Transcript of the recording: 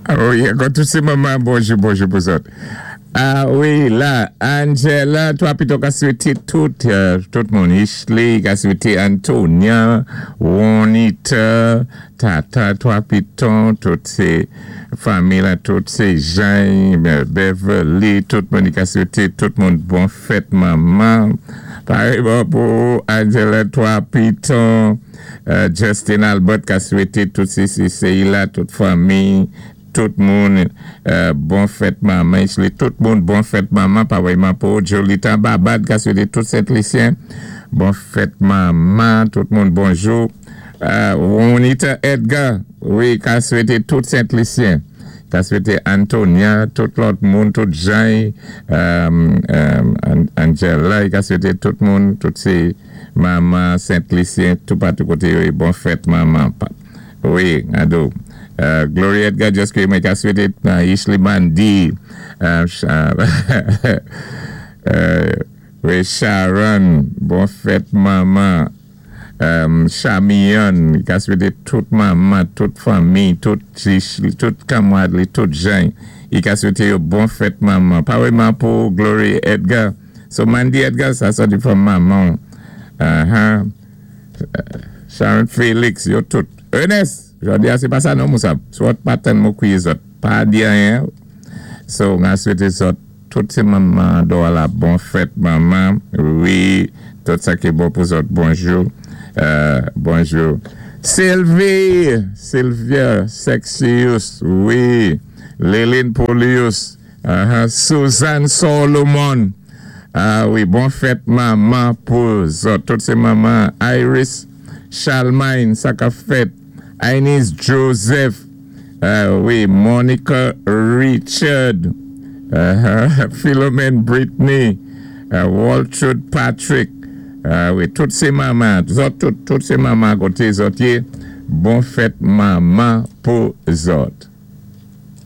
Wi, ankò tout sé manman, bonjou, bonjou pou zòt. A wi, la, Angela, 3 Piton ka swété tout, tout moun. Ishley ka swété Antonia, Juanita, Tata 3 Piton, tout sé fanmi la, tout sé Jean, Beverly, tout moun, i ka swété tout moun bon fèt manman. Parèyman pou Angela 3 Piton, Justin Albert ka swété tout CCCI la, tout fanmi, tout moun bon fèt manman. Ishley, tout moun bon fèt manman. Parèyman pou Jolita Babad ka swété tout Sent-Lisyen bon fèt manman, tout moun bonjou. Juanita Edgar, wi, ka swété tout Sent-Lisyen. Ka swété Antonia, tout lòt moun, tout Jean, Angela, ka swété tout moun, tout sé manman Sent-Lisyen, tout patou koté yo, bon fèt manman. Wi, ado. Gloria Edgar, just ke mwen ka swété Ishley Mandy, wi, Sharon, bon fèt manman. Chamion, ka swété tout manman, tout fanmi, tout tout kanmwad li, tout jan, i ka swété yo bon fèt manman. Parèyman pou Gloria Edgar. So Mandy Edgar, sa sòti from manman. Sharon Felix, yo tout. Ernest, jòdi a sé pa sa non mousa. Swat pa tann mou kwiyé zòt. Pa di anyen. So, nga swété zòt tout sé manman do la bon fèt manman. Wi, tout sa ki bon pou zòt. Bonjou. Bonjou. Sylvie, Sylvia Sexius, wi. Léline Polius, Suzanne Solomon. Ah wi, bon fèt manman pou zòt. Tout sé manman. Iris Charlemagne, sa ka fèt. Ainis Joseph, wi, Monica Richard, Philomene Brittany, Waltrud Patrick, wi, tout sé manman, zòt tout, tout sé manman koté zòt yé, bon fèt manman pou zòt.